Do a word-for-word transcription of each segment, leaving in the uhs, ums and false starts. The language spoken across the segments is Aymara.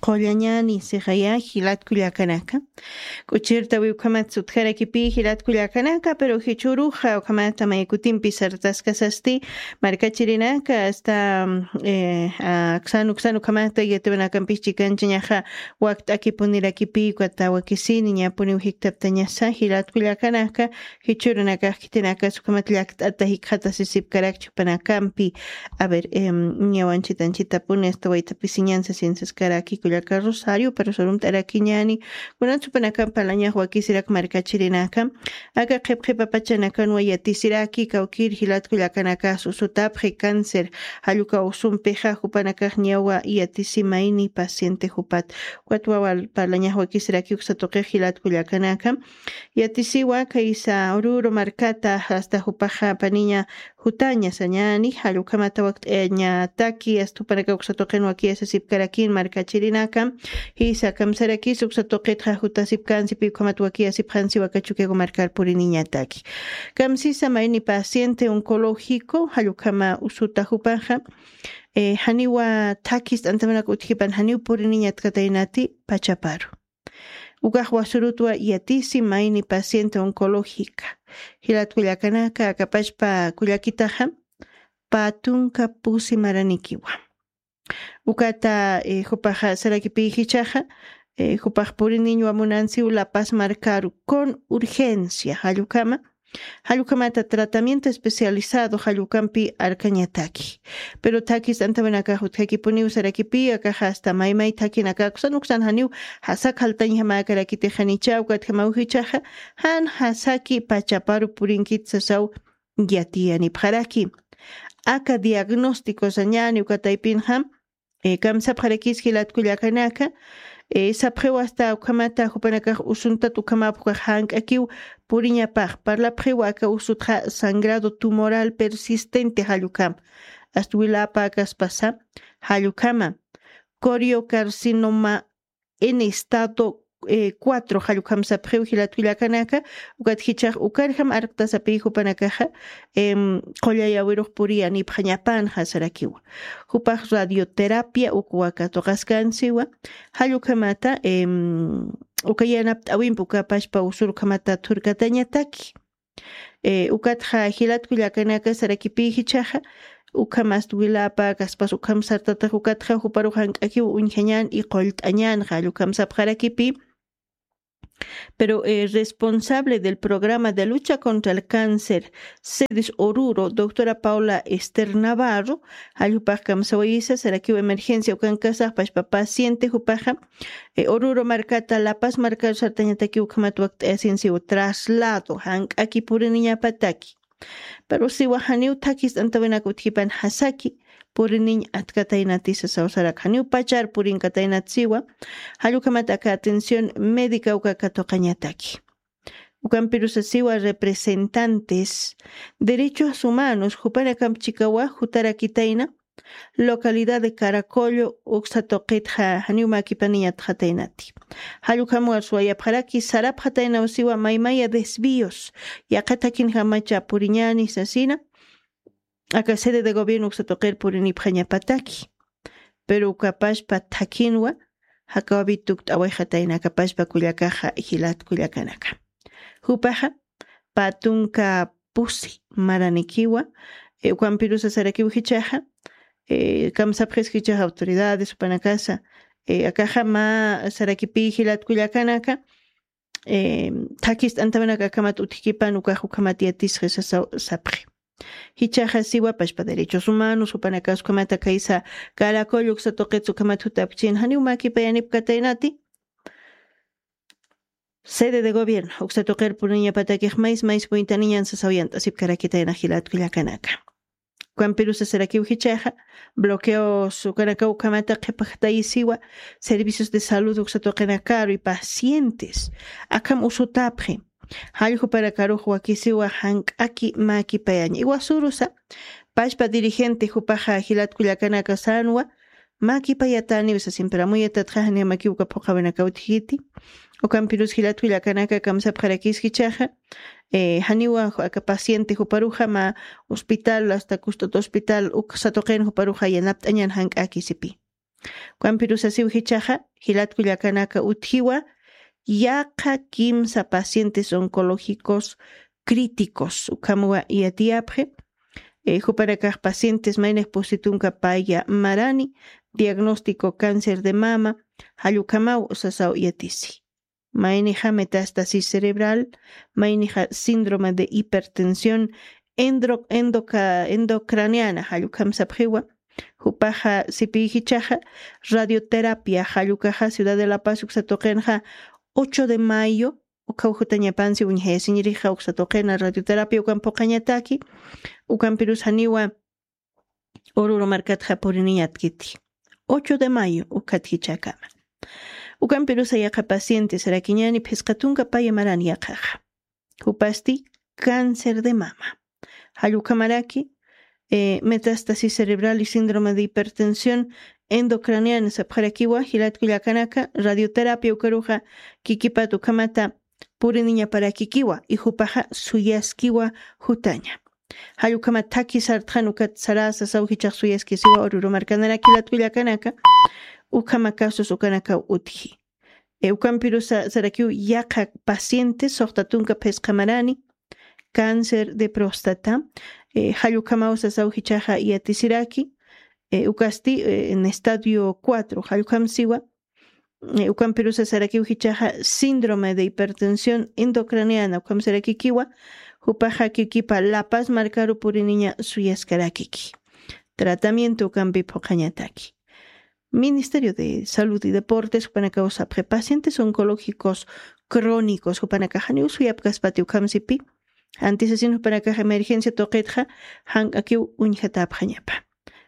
qullañani sixaya jilatkullakanaka. K'uchirtawi ukhamat sutjarakipi jilatkullakanaka pero jichuruxa ukhamata maykutimpi sartaskasasti markachirinaka asta aksan uksan ukhamata yatiwanakampish chikanchañaxa wakt'akipunirakipi ukata wakisini ñapuniw jiktaptañasa jilatkullakanaka. Jichurunakax khitinakas ukhamat llakt'ata jikxatasisipkarakchi jupanakampi. A ver, ñawanchitanchitapuni asta waytapisiñansa siensaskaraki kullaka rosario pero surumt'arakiñani. Kunatsupanakam parlañax wakisirak markachirinaka aka qhipqhipapachanakanwa yatisiraki kawkir jilatkullakanakas usutapxi cáncer jalluka usumpixa jupanakax ñawa yatisimayni paciente jupat. Ukat wawa parlañax wakisiraki uksa tuqix jilatkullakanaka yatisiwa kaysa ururu markata asta jupaxa paniña jutaña sañani jallukhamata wakt'añataki asta jupanaka uksa tuqin wakiyasasipkarakin markachirinaka. Jisa kamsarakis uksa tuqitxa jutasipkansipi ukhamat wakiyasipxansi wakachukiagu markar puriniñataki. Kamsisa mayni paciente oncológico jallukhama usuta jupaxa janiwa thakis t'antamanaka utjipan janiw puriniñatkataynati pachaparu. Ukax wasurutwa yatisi mayni paciente oncológica jilatkullakanaka akapachpa kullakitaxa pä tunka pusi maranikiwa. Ukata jupaxa sarakipï jichaxa jupax puriniñwa munansiw lapas markaru con urgencia jallukama jallukhamata tratamiento especializado jallukampi arkañataki. Pero thakis t'antamanakax utjakipuniw sarakipï akaxa asta maymay thakinakaksan uksan janiw jasak jaltañjamäkarakitixanicha ukatjamaw jichaxa jan jasaki pachaparu purinkit sasaw yatiyanipxaraki. Aka diagnóstico sañani ukataypinxam kamsapxarakis jilatkullakanaka sapxiw asta ukhamata jupanakax usuntat ukhamap ukax jank'akiw puriñapax parlapxiw aka usutxa sangrado tumoral persistente jallukama asta wiläpäkaspasa jallukhama coriocarcinoma en estado cuatro jallukhamsapxiw jilatkullakanaka. Ukat jichax ukarjam arktasapï jupanakaxa qullayawirux puriyanipxañapanxa sarakiwa. Jupax radioterapia uk waka tuqaskansiwa jallukhamata uka yanapt'awimpi ukapashpa usurukhamata thurkatañataki. Ukatxa jilatkullakanaka sarakipï jichaxa ukhamast wilapa kaspas ukham sartatax ukatxa juparux jank'akiw uñjañan y qullt'añanxa jallukhamsapxarakipï. Pero responsable del programa de lucha contra el cáncer sedes oruro doctora paula ester navarro jalljupax kamsawayisa sarakiw emergencia ukankasax pashpa paciente jupaxa ururu markata lapas markaru sartañataki ukhamat wakt'ayasinsiw traslado jank'aki puriniñapataki. Pero siwa janiw thakis t'antawinak utjipan jasaki puriniñ atkataynatisa sawsarak janiw pachar purinkataynat siwa jallukhamat aka atención médica uka katuqañataki. Ukampirusa siwa representantes derechos humanos jupanakamp chikawa jutarakitayna localidad de caracollo uksa tuqitxa janiw makipaniñatxataynati. Jallukhamwa suwayapxaraki sarapxataynaw siwa maymaya desvíos yaqha thakinjamacha puriñani sasina aka sede de gobierno uksa tuqir purinipxañapataki. Pero ukapashpa thakinwa jakawapi tukt'awayxatayna akapashpa kullakaxa jilat kullakanaka. Jupaxa pä tunka pusi maranikiwa ukampirusa sarakiw jichaxa kamsapxis jichaxa autoridades jupanakasa akaxa mä sarakipï jilat kullakanaka thakis t'antamanaka akhamat utjkipan ukax ukhamat yatisxi sasaw sapxi. Jichaxa siwa pashpa derechos humanos jupanakas ukhamata kaysa caracollo uksa tuqits ukhamat jutapkchin janiw makipayanipkataynati sede de gobierno uksa tuqir puriñapatakix mays mays puytaniñan sasaw yant'asipkarakitayna jilat kullakanaka. Ukampirusa sarakiw jichaxa bloqueos ukanakaw ukhamata qhipajtayisiwa servicios de salud uksa tuqinakaru y pacientes akham usutapxi. Jalljupanakaruxwa kisiwa jank'aki makipayaña iwasurusa pashpa dirigente jupaxa jilat kullakanaka sanwa makipayataniw sasimpiramuyatataxa janiyamakiw uka phuqhawinakaw utjiti. Ukampirus jilat kullakanaka kamsapxarakis jichaxa janiwa aka paciente juparuxa mä hospital asta kust'ut hospital uksa tuqin juparuxa yanapt'añan jank'akisipi. Ukampirusasiw jichaxa jilatkullakanaka utjiwa yaqha kimsa pacientes oncológicos críticos ukamwa yatiyapxi. Jupanakax pacientes maynax pusitunka paya marani diagnóstico cáncer de mama jallukamaw sasaw yatisi. Maynixa metástasis cerebral, maynixa síndrome de hipertensión endocraniana jallukam sapxiwa. Jupaxa sipiyijichaxa radioterapia jallukaxa ciudad de la paz uksatuqinxa ocho de mayo ukaw jutañapansi uñjayasiñirixa uksatuqina radioterapia ukan puqañataki. Ukampirusaniwa ururu markatxa puriniñatkiti ocho de mayo ukatjichakama. Ukampirusa yaqa pacientes rakiñani phisqatunka paya marani yaqaxa. Jupasti cáncer de mama jallukamaraki metástasis cerebral y síndrome de hipertensión endocraniana sapxarakiwa jilatkullakanaka radioterapia ukaruxa kikipat ukamata puriniñaparakikiwa ijupaxa suyaskiwa jutaña. Jallukama thaki sartxan ukat sarasa sawjichax suyaskisiwa ururu markanaraki latkullakanaka. Ukama kasus ukanakaw utji. Ukampirusa sarakiw yaqha paciente soxtatunka phisqamarani cáncer de próstata. Jallukamaw sasaw jichaxa yatisiraki ukasti en estadio cuatro jallukam siwa. Ukampirusa sarakiw jichaxa síndrome de hipertensión endocraniana ukamsarakikiwa. Jupaxa kikipa lapas markaru puriniña suyaskarakiki. Tratamiento ukampi phuqañataki. Ministerio de salud y deportes jupanakaw sapxi pacientes oncológicos crónicos jupanakaxaniw suyapkaspati ukhamsipi. Antisasin jupanakax emergencia tuqitxa jank'akiw uñjatapxañapa.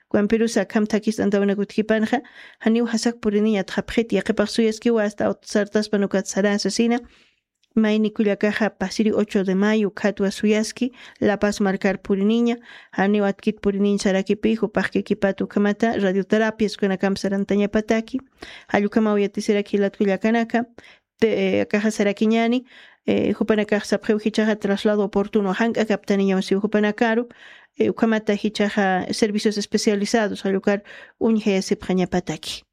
Ukampirusa akham thakist'antawanak utjipanxa janiw jasak puriniña atxapxit yaqipax suyaskiwa asta sartaspan ukat sarasasina. Mayni kullakaxa pasiri ocho de mayo ukhatwa suyaski lapas markar puriniña. Janiw atkit puriniñ sarakipi jupax kikipat ukhamata radioterapias ukanakamp sarantañapataki. Jallukamaw yatisirak jilat kullakanaka. Akaxa sarakiñani jupanakax sapxiw jichaxa traslado oportuno jank'akaptaniñaw siw jupanakaru. Ukhamata jichaxa servicios especializados jallukar uñjayasipxañapataki.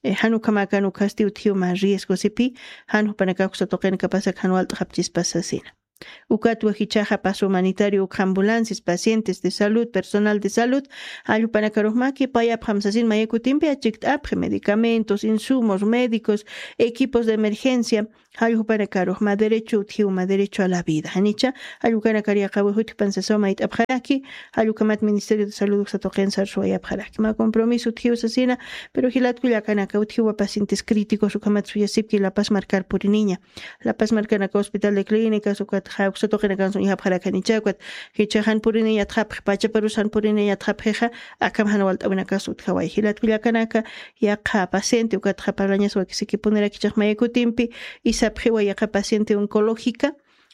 Jan ukhamakan ukhasti utjiw mä riesgo sipi jan jupanakax uksatuqin kapasak jan walt'xapchispas sasina. Ukatwa jichaxa paso humanitario ukha ambulancias pacientes de salud personal de salud jall jupanakarux mä kipayapxam sasin mayakutimpi achikt'apxi medicamentos insumos médicos equipos de emergencia. Jall jupanakarux mä derecho utjiw mä derecho a la vida janicha. Jall ukanakar yaqawix utjpan sasaw mayt'apxaraki. Jall ukhamat ministerio de salud uksatuqin sarsuwayapxaraki mä compromiso utjiw sasina. Pero jilat kullakanaka utjiwa pacientes críticos ukhamat suyasipki lapas markar puriniña. Lapas markanaka hospital de clínicas ukatxa uksatuqinakan suñjapxarakanicha ukat jichaxan puriniñatxapxi pachaparusan puriniñatxapxixa. Akham jan walt'awinakas utjaway jilat kullakanaka. Yaqha paciente ukatxa parlañas wakisikipunirak jichax mayakutimpi isapxiwa yaqha paciente oncológica.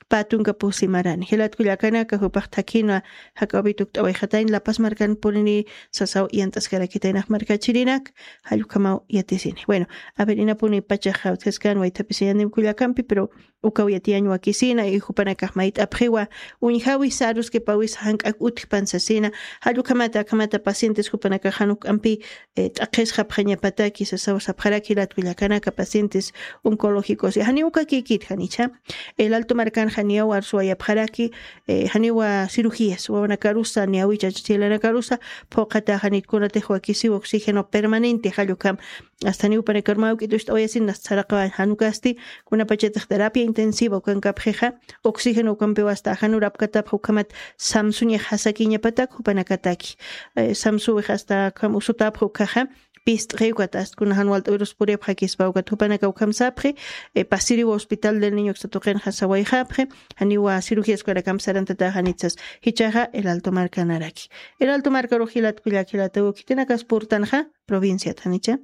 Pä tunka pusi marani jilat kullakanaka jupax thakhinwa jak'awpit ukt'awayxatayn lapas markan purini sasaw yant'askarakitaynax markachirinak. Jall ukhamaw yatisini bueno. A ver inapuni pachaxa utjaskan waythapisiñaniw kullakampi pero ukaw yatiyañ wakisina y jupanakax mayt'apxiwa uñjawi sarus kipawis jank'ak utjpan sasina. Jall ukhamata akhamata pacientes jupanakax jan uk'ampi t'aqhisxapxañapataki sasaw sapxaraki jilat kullakanaka pacientes oncológicos janiw uka kikit janicha. El alto markan janiyaw arsuwayapxaraki janiwa cirugías wawanakarusa niyawicha chilanakarusa phuqhata janit kunatix wakisiw oxígeno permanente jall ukham. Asta janiw jupanakar mä uk'it ucht'awayasin asta saraqawañ jan ukasti kunapachatix terapia intensiva ukankapxixa oxígeno ukampiw asta ajanur apkatapxa ukhamat samsuñax jasakiñapatak jupanakataki. Samsuwix asta ukham usutapxa ukhaxa pist'xi ukat asta kuna jan walt'awirus puripxakispa ukat jupanaka ukham sapxi. Pasiriw hospital del niño uksa tuqinxa sawayxapxi. Janiwa cirugías ukanakamp sarantataxa janit sas jichaxa el alto markanaraki. El alto markarux jilat kullak jilataw khitinakas purtanxa provinciat janicha.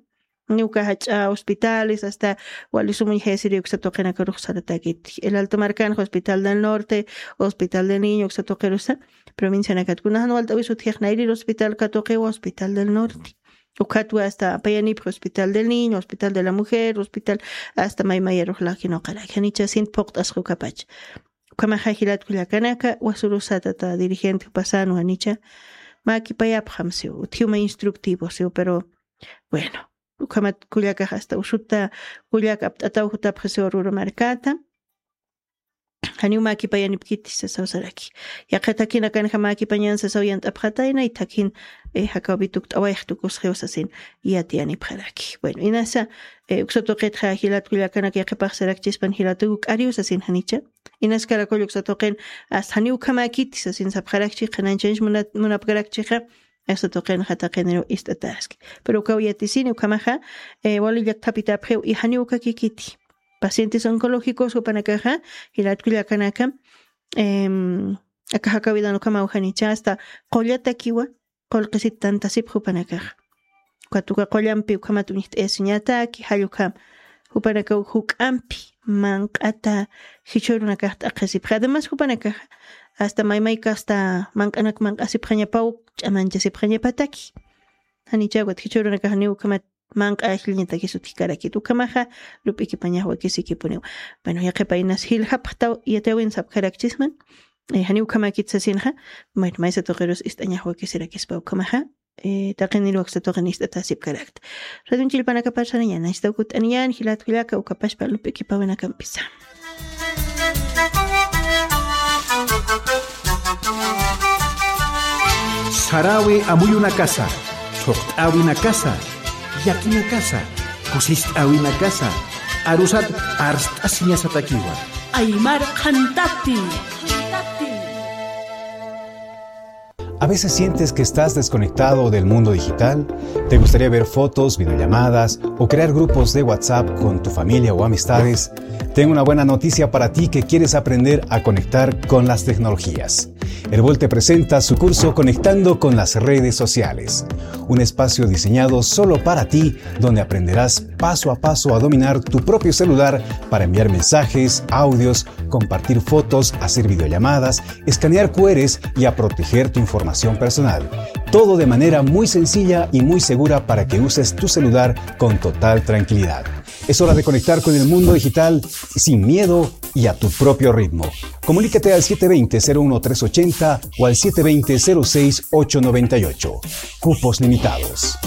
Niw uka jach'a hospitales asta wali sum uñjayasiri uksa tuqinakarux saratakit el alto markanxa hospital del norte hospital del niño uksa tuqirusa. Provincianakat kuna jan walt'awis utjix nayrir hospital katuqiwa hospital del norte. Ukhatwa asta apayanipxi hospital del niño hospital de la mujer hospital asta maymayarux laqinoqaraki janichasin phuqt'asqa ukapacha. Ukhamaxa jilat kullakanaka wasurusatata dirigente jupasanwa janicha. Mä kipayapxam siw utjiw mä instructivo siw pero bueno. ukhamat kullakax hasta usuta kullak apt'ataw jutapxi Oruro markata. Janiw mäkipayanipkiti sasaw saraki. Yaqha thakhinakanxa mäkipañan sasaw yant'apxatayna, y thakhin, eh, jakawpi tukt'awayx tukusxiw sasin yatiyanipxaraki. Bueno, inasa, eh, uksa tuqitxa jilat kullakanaka yaqhipax sarakchispan jilat uk'ariw sasin janicha. Inas karakull uksa tuqin, hasta janiw ukhamäkiti sasin sapxarakchi, qhanañchanch muna-, munapkarakchixa, uksa tuqinxa taqiniruw ist'ataski. Pero ukaw yatisini ukhamaxa, eh, wali llakthapitäpxiw, y janiw ukakikiti. Pacientes oncológicos jupanakaxa, jilat kullakanaka, em, aka jakawidan ukhamaw janicha hasta qullatakiwa, qullqisit tantasipxi jupanakaxa. Ukat uka qullampi ukhamat uñjt'ayasiñataki, jall ukham. Jupanakaw juk'ampi manq'ata jichhürunakax t'aqhisipxi. Además, jupanakaxa hasta maymayka hasta manq'anak manq'asipxañapaw, ch'amanchasipxañapataki. Janicha ukat jichhürunakax niw ukhamat manq'a ajlliñatakis utjkarakit. Ukhamaxa, lup'ikipañax wakisikipuniw. Bueno, yaqhipa inas jiljapxtaw yatiyawin sapxarakchisman, eh, janiw ukhamäkit sasinxa, bueno, maysa tuqirus ist'añax wakisirakispa ukhamaxa, eh, taqiniruw uksa tuqin ist'atäsipkarakta. Radionchillpanakapax sarañan, istaw kutt'aniñän, jilat kullaka, ukapachpa lup'ikipawinakampisa. Saräwi amuyunakasa, thuqt'äwinakasa, llakinakasa, kusist'äwinakasa, arusat arst'asiñasatakiwa. Aymar qhantati. ¿A veces sientes que estás desconectado del mundo digital? ¿Te gustaría ver fotos, videollamadas o crear grupos de WhatsApp con tu familia o amistades? Tengo una buena noticia para ti que quieres aprender a conectar con las tecnologías. Erbol te presenta su curso Conectando con las redes sociales, un espacio diseñado solo para ti, donde aprenderás paso a paso a dominar tu propio celular para enviar mensajes, audios, compartir fotos, hacer videollamadas, escanear Q Rs y a proteger tu información personal. Todo de manera muy sencilla y muy segura para que uses tu celular con total tranquilidad. Es hora de conectar con el mundo digital sin miedo y a tu propio ritmo. Comunícate al siete veinte, cero uno tres ochenta o al siete veinte, cero seis, ocho noventa y ocho. Cupos limitados.